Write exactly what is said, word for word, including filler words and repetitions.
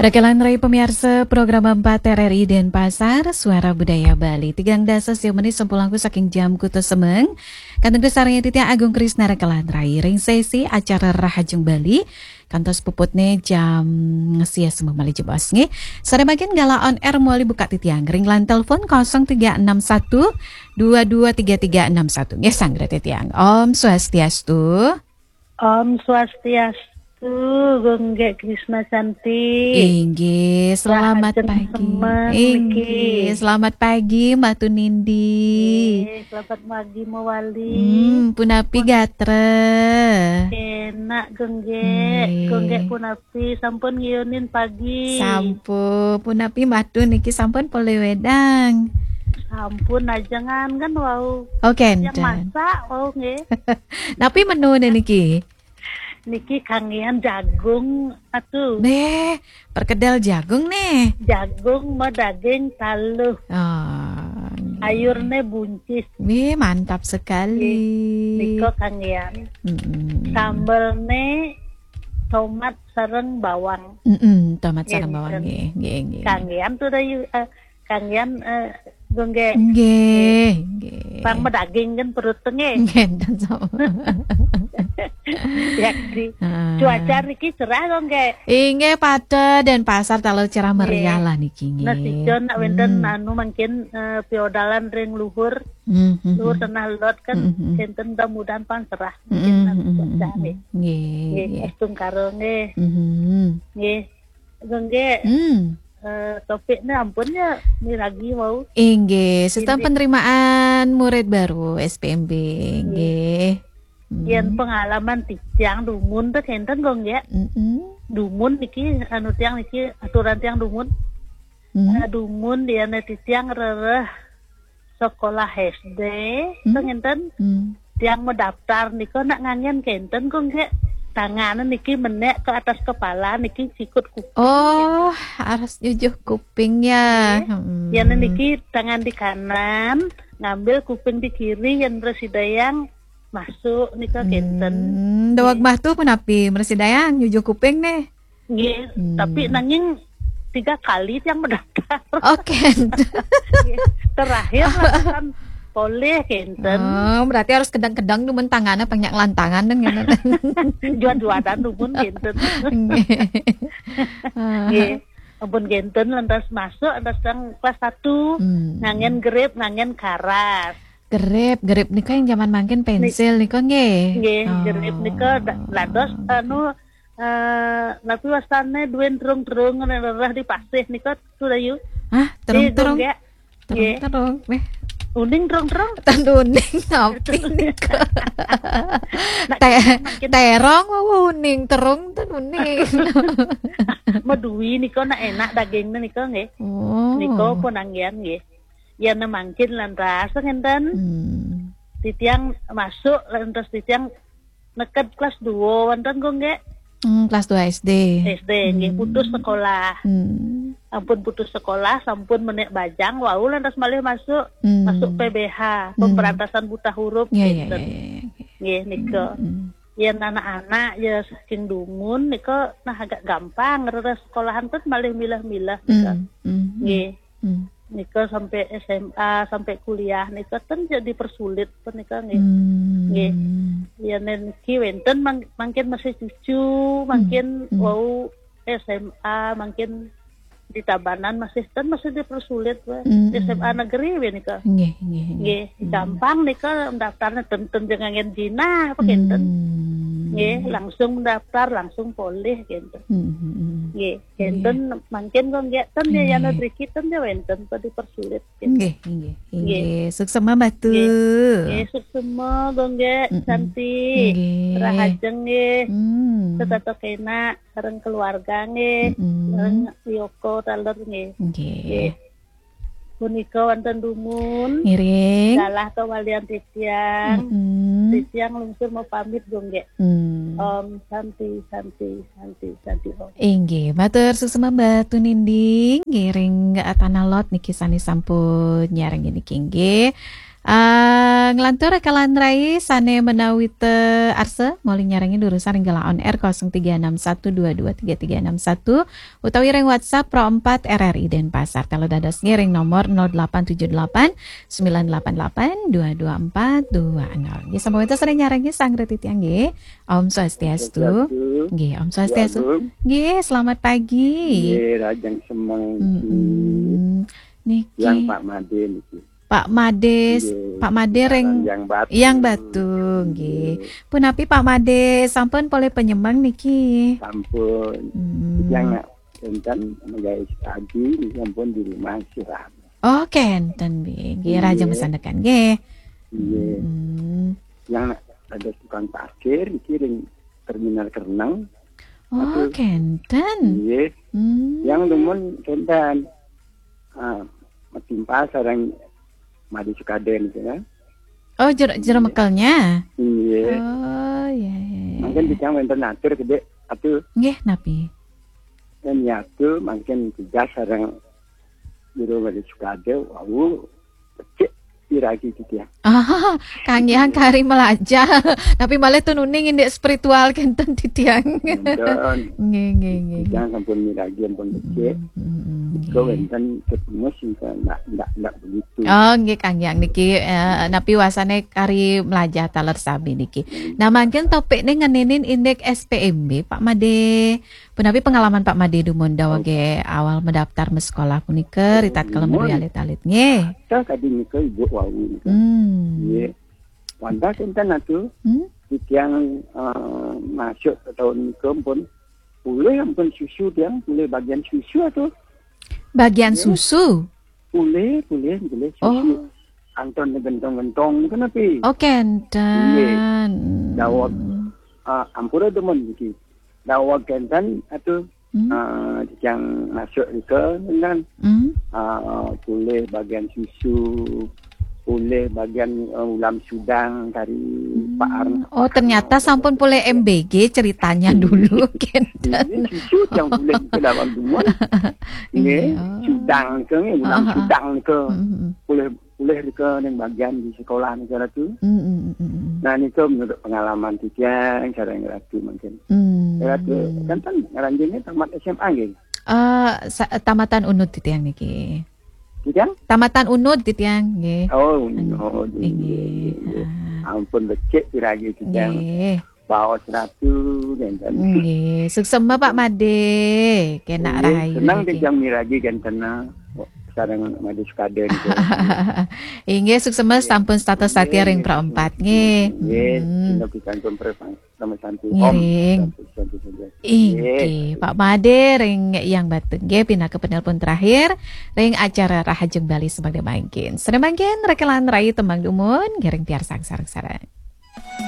Rekelan rai pamiarsa program empat R R I Denpasar, Suara Budaya Bali. Tigang dasa sia menit sampun langkung saking jam Kuta Semeng. Kantun sareng titiang Agung Krisna rekelan rai ring sesi acara Rahajeng Bali. Kantos puputne jam sia semeng malih jebos nggih. Sare mangkin galah on air malih buka titiang ring line telepon kosong tiga enam satu dua dua tiga tiga enam satu. Nggih, sanggra titiang. Om Swastiastu. Om Swastiastu, Gung Gek Krisna Cantik. Inggih, selamat Rahajeng pagi. Semeng Inggih, niki. Selamat pagi Mbak Tunindi. Inggih, selamat pagi Mawali. Hmm, punapi gatra? Enak, Gung Gek. Inggih. Gung Gek punapi, sampun ngiyunin pagi? Sampun. Punapi Mbak Tun niki sampun polih wedang? Sampun, ajengan kan wau. Oh, yang kenten. Masak wau nggih. Napi menune niki? Niki kanggihan jagung, atuh. Neh, perkedel jagung neh. Jagung ma daging taluh. Oh, nggih. Sayurne buncis. Nggih, mantap sekali. Nggih, nika kanggihan. Mm-mm. Sambelne tomat sareng bawang. Mm-mm, tomat sareng bawang, nggih, nggih, nggih. Kanggihan tuh dah, eh, kanggihan, eh, Gung Gek. Nggih, nggih. Pang ma daging kan perut nggih. Nggih, enten sama. Ya, di Heeh. Cuaca niki cerah, Gung Gek. Inggih, pada Denpasar taler cerah meriah lah niki, nggih. Nah, sijon nak wenten anu mangkin, eh, piodalan ring luhur. Hmm, hmm, luhur hmm. Tanah lot kan, hmm, hmm. Enten mudah-mudahan pang cerah. Mungkin hmm, nanti hmm, cuaca hmm, nggih. Hmm. Nggih, nggih. Astungkara nggih. Hmm. Nggih. Gung Gek. Hmm. Eh, topiknya ampun ya, miragi wau. Inggih, sistem penerimaan murid baru S P M B. Nggih. Nggih. Hmm. Yen pengalaman titiang dumun teh kenten, Gung Gek. Mm-mm. Dumun niki, anu, tiang niki aturan tiang dumun. Hmm. Eh, dumun yen titiang rereh sekolah S D, hmm, teh ngenten. Hmm. Tiang ma daftar nika nak nganggen kenten, Gung Gek. Tangan niki menek ke atas kepala niki sikut kuping. Oh, harus nyujuh kuping ya. Nggih. Hmm. Yen niki tangan di kanan, ngambil kuping di kiri, yen mresidayang masuk nika kenten. Hmm, daweg mah tuh punapi mresidayang nyujuh kuping neh. Nggih, hmm. Tapi nanging tiga kali tiang ma daftar. Oke. Nggih. Terakhir lah kan polih kenten. Oh, berarti harus kedang-kedang dumun tangannya banyak lantangan dan ngenten. Jual-jualan dumun kenten. Nggih. Nggih. Ampun kenten lantas masuk, lantas yang kelas satu, hmm, nganggen grip, nganggen karas. Grip, grip nika yang zaman mangkin pensil nika nggih. Nggih, oh. Grip nika da-, dados anu, eh, napi wastane duwe terung-terung rereh di pasih nika tuh dayu. Hah, terung-terung? Nggih, Gung Gek. Terung-terung, nggih. Uning terung-terung? Tan uning napi nika? Nak te-, mangkin terong wau uning, terung tan uning. Medui nika nak enak dagingnya nika nggih. Oh. Nika pun anggian nggih. Yen mangkin lantas ngenten. Hmm. Titiang masuk lantas titiang neked kelas dua wonten, Gung Gek. Hmm, kelas dua S D. S D nggih, hmm, putus sekolah. Hmm. Ampun putus sekolah, sampun menek bajang, wau lantas malih masuk, hmm, masuk P B H, hmm, pemberantasan buta huruf, ya, ya, ngenten. Ya, ya, ya. Nggih, nika. Hmm. Yen anak-anak ya saking dumun nika nah agak gampang, rereh sekolahan pun malih milah-milah nika. Hmm, hmm, hmm. Nggih. Hmm. Nika sampai S M A, sampai kuliah nika ten jadi persulit pun nika nggih. Hmm. Nggih. Ya niki wenten mang-, mangkin masih cucu, mangkin, hmm, hmm, wau S M A, mangkin di Tabanan masih ten masih dipersulit weh. Hmm, hmm. S M A negeri weh nika. Nggih, nggih, nggih. Nggih, hmm, gampang nika daftarnya ten-ten jangan jinah apa kenten. Hmm. Nggih, langsung mendaftar, langsung polih kenten. Hmm, hmm, hmm. Nggih. Kenten mangkin kok nggih ten ya, nggih, yana driki ten ya wenten kok dipersulit kenten. Nggih, nggih, nggih. Nggih. Suksema Mbak Tu. Nggih. Nggih, suksema Gung Gek, mm-mm, Santi. Nggih. Rahajeng nggih. Hmm. Setata kena sareng keluarga nggih. Mm-mm. Sareng Yoko taler nggih. Nggih. Nggih. Punika wonten dumun. Ngiring. Galah kawalian titiang. Mm-mm. Titiang lungsur mau pamit Gung Gek. Hmm. Om Santi, Santi, Santi, Santi Om. Inggih, matur suksema Mbak Tunindi, ngiring, eh, Tanah Lot niki sami sampun nyarengin niki inggih. Ah, nglantur kalan rai sane menawi te arsa, moli nyarengi durusang ring gelah on air kosong tiga enam satu dua dua tiga tiga enam satu, utawi ring WhatsApp Pro empat R R I Denpasar. Telu dados ngiring nomor nol delapan tujuh delapan sembilan delapan delapan dua dua empat dua nol. Nggih, sampun wenten sane nyarengi sang reti tiang nggih. Om Swastiastu. Swastiastu. Nggih, Om Swastiastu. Agung. Nggih, selamat pagi. Nggih, rahajeng semeng. Mm-mm. Niki. Yang Pak Made niki. Pak Made, nggih, Pak Made ring Yang Batu. Yang Batu, nggih. Nggih. Punapi Pak Made, sampun polih penyemeng niki? Sampun. Hmm. Yang nak enten menggawe pagi niki sampun di rumah istirahat. Oh, kenten, nggih. Nggih, rahajeng masandekan, nggih. Nggih. Hmm. Yang nak ada tukang parkir niki ring terminal Kereneng. Oh, aduh. Kenten. Nggih. Hmm. Yang demen kenten. Ah, matimpal sareng Made Sukaden gitu kan. Oh, jer-, jero mekelnya? Iya. Oh, iya, iya, iya. Mungkin kita wenten atur gede, atur. Nggih, napi? Dan ya tuh mungkin tugas sareng Jero Made Sukade, wau, becik piragi gitu ya. Ah, kanggihan kari melajah. Tapi malah tuh nuning indik spiritual kenten titiang. Kenten. Nggih, nggih, nggih, nggih. Titiang sampun miragi, ampun becik. Mm, mm, mm, nggih. Wenten ketemu sih, ndak, ndak, ndak begitu. Oh, nggih, kanggihan niki, eh, napi wasane kari melajah taler sami niki. Nah, mangkin topikne ngeninin indik S P M B, Pak Made. Punapi pengalaman Pak Made dumun dawege awal mendaftar mesekolah punika, ritatkala medue alit-alit nggih. Kadi nika Ibu wau nika. Hmm. Nggih. Wantah kinten atu, hmm? Titiang, eh, masuk ke tahun nika pun pulih ampun susu tiang, pulih bagian susu atu. Bagian susu? Pulih, pulih, pulih susu. Oh. Anton gentong-gentong nika napi? Oh, kenten. Nggih. Daweg, eh, ampura demen niki. Daweg kenten atu, hmm? Eh, titiang masuk nika dengan, hmm? Eh, pulih bagian susu, pulih bagian, eh, ulam sudang kari, hmm, Pak Arno. Oh, ternyata sampun pulih M B G ceritanya dulu, kenten. Ini susu yang pulih ke dalam dumun. Nggih, oh. Sudang nika nggih, ulam sudang nika. Hmm, hmm, hmm. Pulih pulih nika ning bagian di sekolah nika Ratu. Mm, mm, mm, mm, mm. Nah, nika menurut pengalaman titiang sareng Ratu mungkin. Mm. Ratu, kenten ngranjingnya tamat S M A nggih? Eh, sa-, tamatan Unud titiang niki. Titiang? Tamatan Unud titiang nggih. Oh, Unud. Nggih, nggih, nggih. Ah. Ampun becik piragi titiang. Nggih. Baos Ratu, kenten. Nggih, suksema Pak Made, kenak rahayu niki. Nggih, seneng titiang miragi kenten sareng Made Sukade niki. Inggih, suksema sampun setata satya ring Pro empat nggih. Nggih, hmm. Nggih, sampun Pro empat. Sama santi. Ngiring. Om, santi, santi, santi. Inggih, nggih. Pak Made ring Yang Batu nggih, pinaka penelpon terakhir ring acara Rahajeng Bali semangke mangkin. Sane mangkin rekelan rai tembang dumun, ngiring piarsang sareng-sareng.